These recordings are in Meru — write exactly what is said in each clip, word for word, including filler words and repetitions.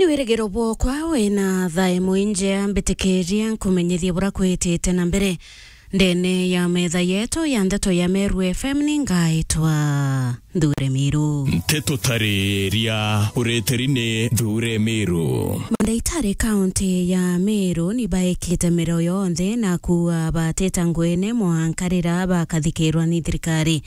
Wirigiro bwokwa wina thaa imwe injea, mbitikiria nkumenyithie bura kwitite na mbere. Ndene ya metha yetu ya ndeto ya Meru F M ni ngaitwa Nthure Miru. Nteto tariria ureteri ni Nthure Miru. Mandaitari kaunti ya Meru ni baikite miro yonthe na kuuga batita ngwene mwanka riria bakathikirwa ni thirikari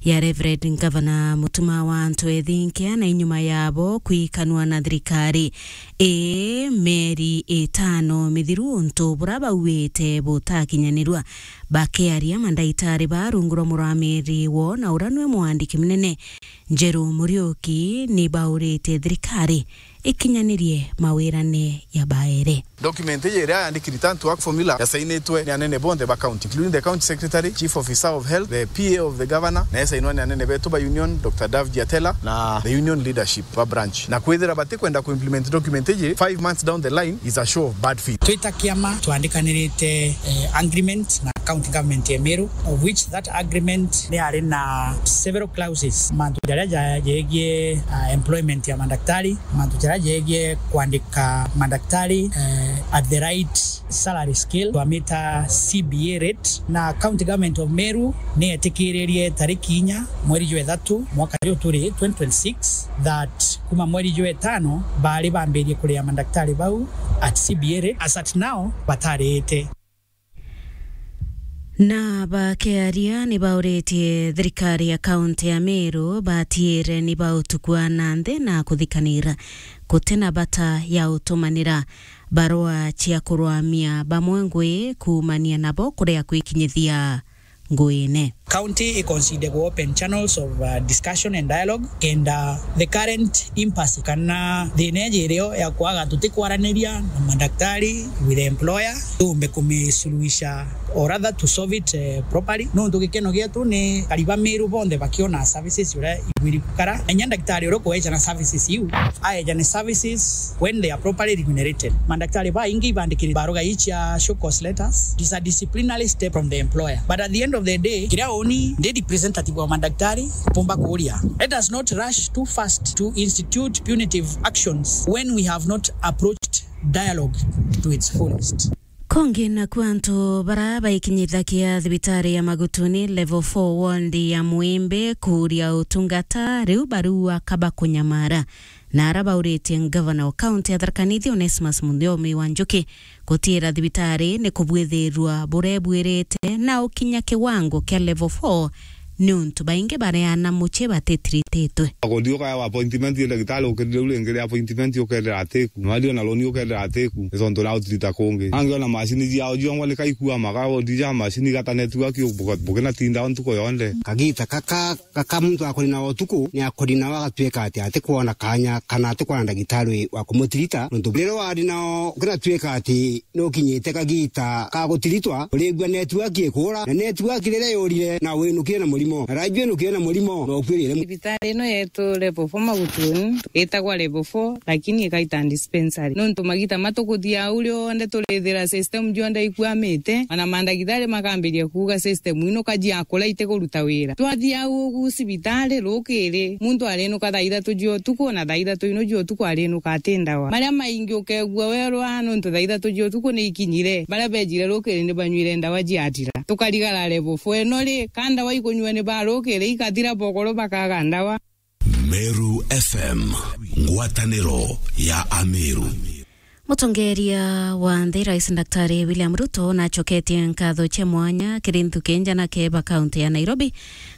ya Reverend Governor Mutuma wa Antu Ethinkia, na inyuma yabo kwikanwa na thirikari ii mieri itano mithiru untu bura bauite butakinyanirua. Bakiaria mandaitari ba rungu rwa muramiri wo na ura nwe mwandiki munene Njeru Muriuki, ni baurite thirikari ikinyanirie mawirane ya baere. Document iji iria yandiki return to work formula yasainitwe ni anene bonthe ba county, including the county secretary, chief officer of health, the P A of the governor, na yasainwa ni anene betu ba union, Doctor Dave Giatela, na the union leadership ba branch. Na kwithira batikwenda ku implement document iji, five months down the line is a show of bad faith. Twita kiama twandikanirite, eh, agreement na county government ya Meru, of which that agreement ni yari na several clauses, mantu jaria ja-, jegie, ah, employment ya mandaktari, mantu jaria jegie kwandika mandaktari, eh, at the right salary scale, twamita C B A rate, na county government of Meru ni yetikiririe tariki inya mweri jwa ithatu mwaka juju turi twenty twenty-six, that kuma mweri jwa itano bari bambirie kuria mandaktari bau at C B A rate. As at now, batariite. Na bakiaria ni bauritie thirikari ya kaunti ya Meru batiire ni bautukua na nthi na kuthikanira gutina bata ya utumanira barua cia kurwamia bamwe ngui kuumania nabo kuria kwikinyithia nguine. County i consider ku open channels of, uh, discussion and dialogue, and, uh, the current impasse kana thina iji irio ya kwaga tutikwaraniria na madaktari with the employer, tuumbe kumisuluhisha or rather to solve it, eh, properly. Nontu gikeno gietu ni kariba Meru bonthe bakiona services uria ibwiri gukara. Na inya ndagitari uria ukueja na services iu, aeja ni services when they are properly remunerated. Mandaktari baingi ibandikiri baruga icia show cause letters. It is a disciplinary step from the employer. But at the end of the day, kiria uni ndi representative wa mandaktari, mpumba kuuria. Let us not rush too fast to institute punitive actions when we have not approached dialogue to its fullest. Kongi naku antu bara baikinyithagia thibitari ya Magutuni level four ward ya Mwimbi kuuria utungata, riu bariuga kaba kunyamara. Na ara bauritie ngavana wa kaunti ya Tharaka Nithi Onesmus Muthomi wa Njuki gutiira thibitari ni kubwithirwa burebuirite na ukinya kiwango kia level four, niuntu baingi bareana mucii batitirititwe. Akondi ukaya appointment ya ndagitari ukirire u ringi ria appointment ukethira atiku. Na wathi ona roni ukethira atiku. Ni tontu ria utirita kungi. Angi ona macini ciao ciongwa ni kaikua maka, uthi ja macini igata network, bukina tinda o ntuku yonthe. Kagita kaka Gaka muntu akori nao utuku, ni akori nao agatuika ati atikwona kanya kana atikwona ndagitari wa kumutirita, nontu riria wari nao ukinatuika ati nukinyite kagita ka gutiritwa, urigua network ikura, na network riria yurire, na winukire na murimo, na raju winukire na murimo, na ukuirire. Thibitari ino yetu level four Magutuni, itagwa level four, lakini ikaita dispensary. Nontu magita matukuthia au rionthe turithira system jonthe ikwamite, ona mandagitari makambiria kuuga system ino kaji akura itikuruta wira. Twathia au ugu cibitari rukiri, muntu arinuka thaa ithatu cia utuku, na thaa ithatu ino cia utuku arinuka ati ndawa. Maria maingi ukegua werwa nontu thaa ithatu cia utuku ni ikinyire. Baria bejire rukiri ni banywire ndawa ciathira. Tukarigara level four ino ri, ka ndawa ikunyua ni ba rukiri ikathira, bokoro bakaga ndawa. Meru F M, ngwataniro ya Ameru. Mutongeria wa nthi, Rais Daktari William Ruto, nacoketie nkatho cia mwanya kiri nthuki njanake ba kaunti ya Nairobi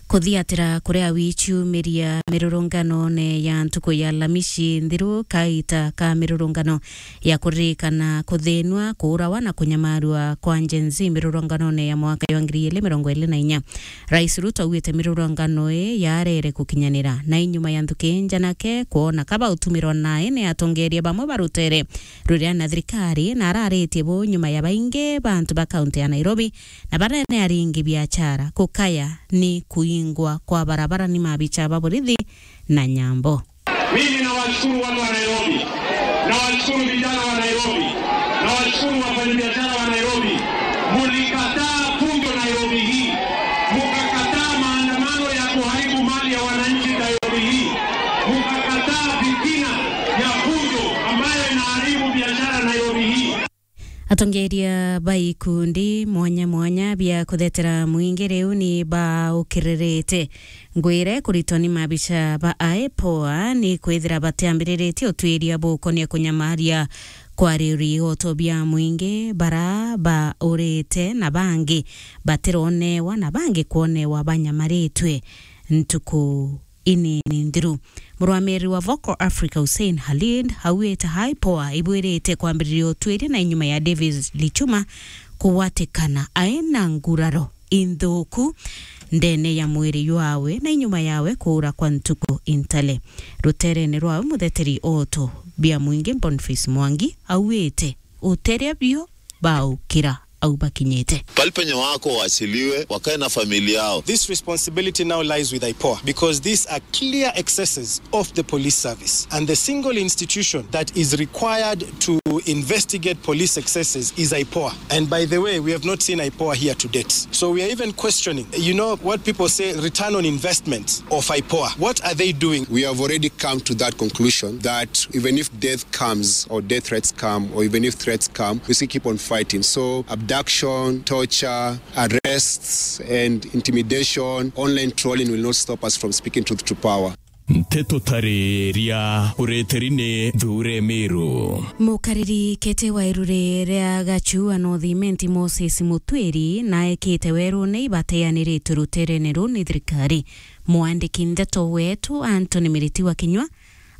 kuthiatira kuria wiciumiria mirurunganone ya ntuku ya Alhamisi nthiru, kaita ka mirurungano ya kuririkana kuthinwa, kuurawa na kunyamarua kwa Gen Z mirurunganone ya mwaka ya ngiri igiri mirongo iri na inya. Rais Ruto augite mirurungano ii yarere gukinyanira, na inyuma ya nthuki njanake kwona kaba utumirwa nae ni atongeria bamwe ba rutere ruria na thirikari, na araritie bu nyuma ya baingi ba antu ba kaunti ya Nairobi na baria ni aringi biachara gukaya ni kuingwa kwa barabara ni mabicha ba borithi na nyambo. Mimi nawashukuru watu wa Nairobi, nawashukuru vijana wa Nairobi, nawashukuru wafanyabiashara wa Nairobi. Mulikataa fujo Nairobi hii, mukakataa maandamano ya kuharibu mali ya wananchi Nairobi hii, mukakataa fitina ya fujo ambayo Atongeria ba ikundi mwanya mwanya bia kuthetera mwingi riu ni baukiririte ngwire kuritwa ni mabicha ba IPOA ni kwithira batiambiriritie utwiria bukonia kunyamaria kwa riuri igoto bia mwingi bara baurite na bangi batironewa na bangi kwonewa banyamaritwe ntuku inini nthiru. Murwamiri wa Vocal Africa Hussein Khalid auite IPOA ibwirite kwambiriria utwiria na inyuma ya Davis Lichuma kugwatikana aina nguraro inthuku ndene ya mwiri jwawe na inyuma yawe kuura kwa ntuku intale. Ruterene rwawe mutheteri oto bia mwingi Boniface Mwangi auite uteria bio baukira au bakinyite. Pali penye wako waachiliwe, wakae na familia yao. This responsibility now lies with IPOA because these are clear excesses of the police service, and the single institution that is required to investigate police excesses is IPOA. And by the way, we have not seen IPOA here to date. So we are even questioning, you know, what people say return on investment of IPOA. What are they doing? We have already come to that conclusion that even if death comes or death threats come or even if threats come, we still keep on fighting. So abduction, torture, arrests and intimidation, online trolling will not stop us from speaking truth to power. Nteto tariria ureteri ni Thure Miru. Mukariri kiti wa iruri ria Gachua North Imenti Moses Mutwiri naekite werune ibateaniritwe ruterene ruu ni thirikari. Mwandiki ndeto wetu Anthony Miriti wa Kinyua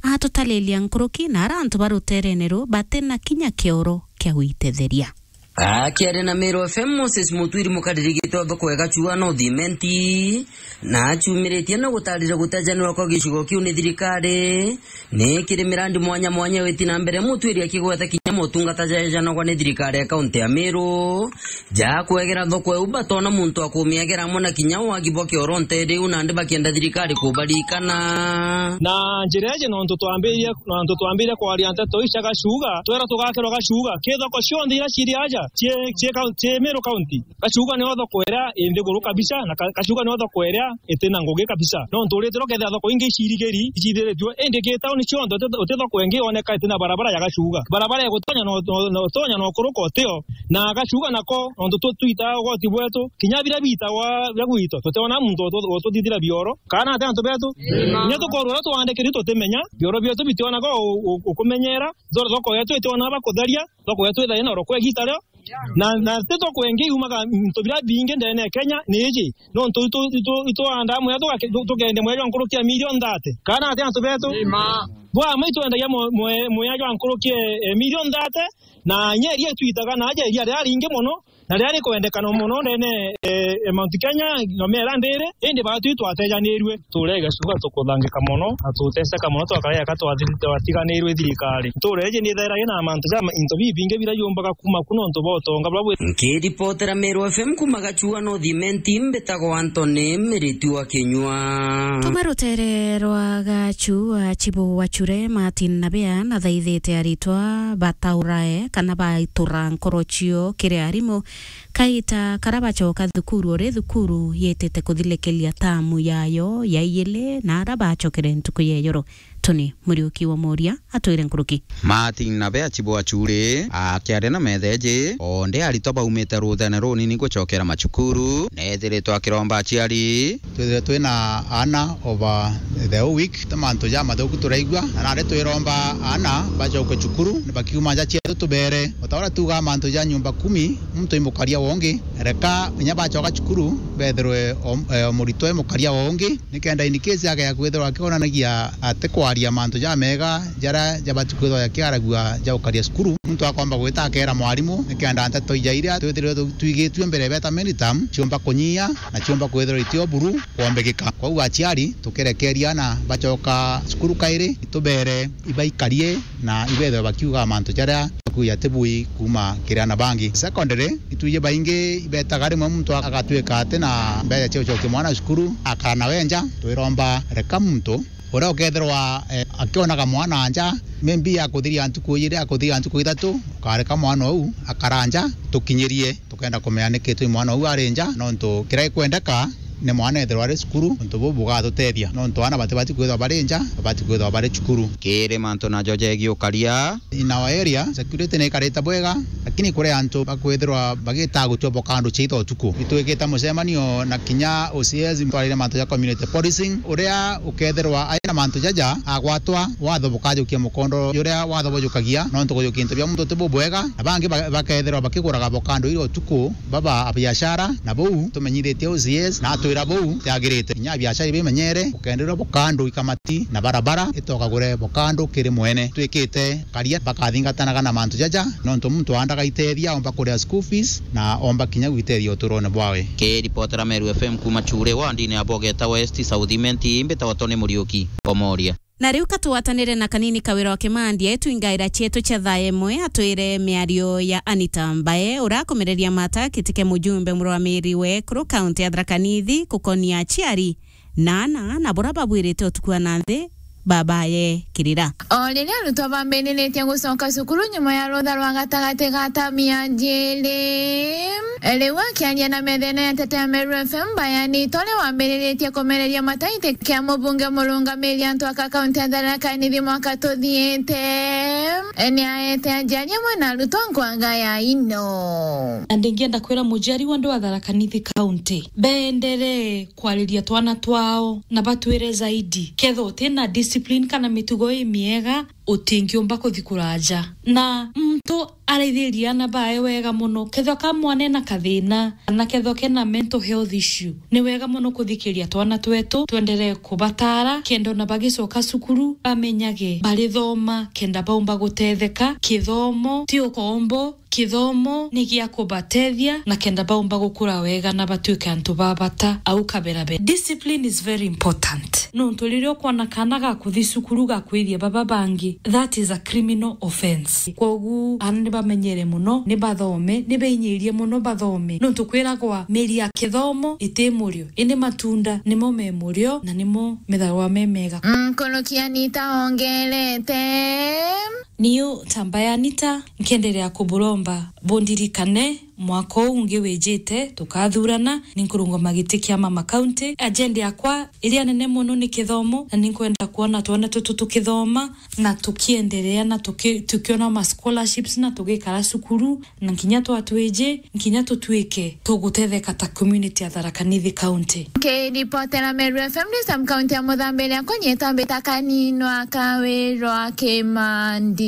atutariria nkuruki na ara antu ba ruterene ruu bati na kinya kioro kia gwitetheria. Akiaria na Meru F M, Moses Mutwiri, mukariri giti wa thoko ya Gachua North Imenti, na achumiritie na gutarira gutejanirwa kwa gicigo kiu ni thirikari, ni kiri mirandi mwanya mwanya witi na mbere, Mutwiri akigweta kinya motungata jaejanagwa ni thirikari ya kaunti ya Meru, ja kwegera thoko iu batona muntu wa kumiegera amwe na kinya wagi bwa kioro nteere iu, nandi bakienda thirikari kubarikana. Na njira iji nontu twambirie, nontu twambirie kwaria nteto ici cia Gachuga, twera tugakirwa Gachuga, ki thoko cionthe iria ciri aja, cii, cii kau-, cii Meru County. Gachuga nio thoko iria i nthiguru kabisa, na Ka-, Gachuga nio thoko iria iti na ngugi kabisa. Nontu uritirwa kethira thoko ingi icirigiri, icithiritue, indi ki tauni cionthe uti, uti thoko ingi yoneka iti na barabara ya Gachuga. Barabara igutonya no, no, no, utonya no kuruka utio. Na Gachuga nako, nontu tu-, twitaa ugoti bwetu, kinya biria biitagwa bia gwitu, tutiona muntu utu-, ututhithira bioro. Kana ati antu betu? Kinya tukorwa uria twandikiri tutimenya, bioro bietu bitionaga u-, u-, ukumenyera, thoko yetu itiona ba kutheria, thoko yetu ithaina oro kwa igita rio. Na, na ti thoko ingi yumaga into biria bingi ndene ya Kenya ni iji. Nontu itu, itu, itwandaa mwea tugake-, tu-, tukende mwea jwa nkuruki ya milioni thate. Kana ati antu betu? Bwa ma itwendagia mwe-, mwe-, mwea jwa nkuruki e, e milioni thate, na nyeri itwitaga na aja iria riria ringi mono, na riria rikwendekana mono ndene, e, e Mount Kenya, na miera ndiri, indi baatu itwatejanirue. Tureega cuga tukuthangika mono, na tuteseka mono, twakareeka twathi-, twatiganirue thirikari. Ntuura iji ni ithaira ina mantu ja ma-, into bibingi biria yumbaga kuuma ku nontu bwa utonga buria bwi. Nkiripotera Meru F M kuuma Gachua North Imenti, mbitagwa Anthony Miriti wa Kinyua. Tuma rutere rwa Gachua, Chibu wa Chure, Martin Nabea, nathaithite aritwa bataurae kana baitura nkoro cio kiri arimu. Kaita kara bacoka thukuru, uri thukuru yitite kuthilikeria tamu yayo ya iili, na ara bacokere ntuku ya ijoro. Tuni Muriuki wa Moria atwire nkuruki. Martin Nabea Chibu wa Chure akiaria na metheji, onde aritwa baumite ruthene runini gucokera macukuru, nethiritwe akiromba aciari. Twithire twina aana over the whole week, ti mantu jamathuku turaigua, na nandi twiromba aana bacoke cukuru, ni bakiuma nja cietu tubere. O ta uria tuugaa mantu ja nyumba kumi, muntu i mukaria wa ungi, reka kinya bacoka cukuru, bethirwe o, e, o muritwa i mukaria wa ungi, nikenda in case agea kwithirwa akionanagia atikwaria mantu jamega jaria jabati kwithirwa jakiaragua ja gukaria cukuru, muntu akomba gwita akeera mwarimu, nikenda nteto ija iria twithirwe tu-, twigitue mbere beta many term, ciumba kunyia, na ciumba kwithirwa itio buru kwombekeka. Kwou aciari, tukirekeria aana bacoka cukuru kairi, itubere ibaikarie na ibethwe bakiuga mantu jaria bakuya tibui kuuma kiri aana bangi. Secondary, itwiji baingi ibetaga rimwe muntu agatwika ati na mbeca cia gucokia mwana cukuru, akana we nja. Twiromba reka muntu uria ukethirwa, eh, akionaga mwana nja, maybe akuthiria ntuku ijiri, akuthiria ntuku ithatu, ukareka mwana uu akara nja, tukinyirie. Tukenda kumenya niki twi mwana uu ari nja, nontu kiria gikwendeka ni mwana ethirwa ari cukuru, untu buu bugatutethia. Nontu aana batibati kwithirwa bari nja, babati kwithirwa bari cukuru. Kiri mantu najo jegii ukaria. In our area, security ni ikarite bwega, lakini kuri antu bakwithirwa bagitaga gutua bokando ciitha utuku. Itwikite mucemanio na kinya O C S, twarire mantu ja community policing, uria ukethirwa ari na mantu jaja agwatwa, watho bukajukia mukondo juria watho bujukagia, nontu kujukia into bia muntu ti bubwega, na bangi ba-, bakethirwa bakiguraga bokando iria utuku, baba a biashara, na buu tumenyithitie O C S, na atwira buu tiagirite. Kinya biashara ibimenyere, ukenderwa bokando ikamati na barabara, itokagure bokando kiri mwene. Twikite karia bakathingatanaga na mantu jaja, nontu muntu andaga itethia, omba kuria school fees, na omba kinya gwitethia uturone bwawe. Kiripotera Meru F M kuma Chure, wandini ya Bogeta West, South Imenti, mbitawa Tony Muriuki, Omoria. Na riu katwatanire na kanini Kawira wa Kimandi, etu ingaira cietu cia thaa imwe, atwire miario ya Anita Mbae, urakumireria mata kiti kia mujumbe murwamiri we kuru kaunti ya Tharaka Nithi, kukonia aciari na ana na bura babwirite utuku wa nanthi babaye kirira. O riria arutwo bambiriritie gucoka cukuru nyuma ya rutha rwa gatagati ga tamu ya njiri, riu akiaria na methene ya Nteto ya Meru F M, Mbae Anita uria wambiriritie kumereria mata giti kia mubunge murungamiri antu aka kaunti ya Tharaka Nithi mwaka tuthiite, ni aete aciari amwe na arutwo nkwaga ya ino. Na ndingienda kwira muciari wonthe wa Tharaka Nithi County beenderee kwariria twana twao na batwire zaidi. Ketha utina discipline kana mitugo imiega, utingiumba kuthi kuraja. Na muntu araithirie ana bae wega mono, kethwa ka mwana ena kathina, kana kethwa kena mental health issue, ni wega mono kuthikiria twana twetu, twenderee kubatara, kenda ona bagicoka cukuru, bamenyage barithoma, kenda baumba gutetheka. Kithomo ti ukombo, kithomo ni gia kubatethia na kenda baumba gukura wega na batuike antu ba bata au kabera be. Discipline is very important. Nontu riria ukwona kaana gakuthi cukuru gakwithia baba bangi, that is a criminal offence. Kwogu aana ni bamenyere mono, ni bathome, ni beinyirie mono bathome. Nontu kwiragwa miri ya kithomo iti murio, indi matunda nimo me murio na nimo metharwa me mega. Nkuruki Anita ongerete. Niu ta Mbae Anita, nkienderea kuburomba bundirikane mwaka uu ungi wijite tukathurana, ni nkurungama giti kia mama county. Agenda yakwa iria nene mono ni kithomo, na ni nkwenda kwona twana tutu tukithoma na tukienderea na tuki-, tukiona ma scholarships na tugikara cukuru, na nkinya twatwiji, nkinya tutuike tugutetheka ta community ya Tharaka Nithi County. Nkiripotera Meru F M ni sub county ya Muthambiria, kunyita mbita kaninwa Kawirwa Kimandi.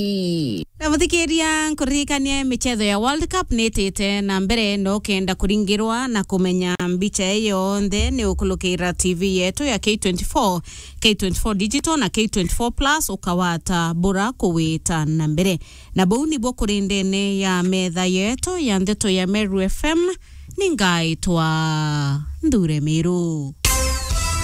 Na muthikiria, nkuririkania michetho ya World Cup ni itite na mbere, na ukenda kuringirwa na kumenya mbicha iyo yonthe, ni ukulukira T V yetu ya K twenty-four, K twenty-four Digital na K twenty-four Plus, ukawata bura kuwita na mbere. Na buu nibuo kuri ndene ya metha yetu ya ndeto ya Meru F M, ni ngaitwa Nthure Miru.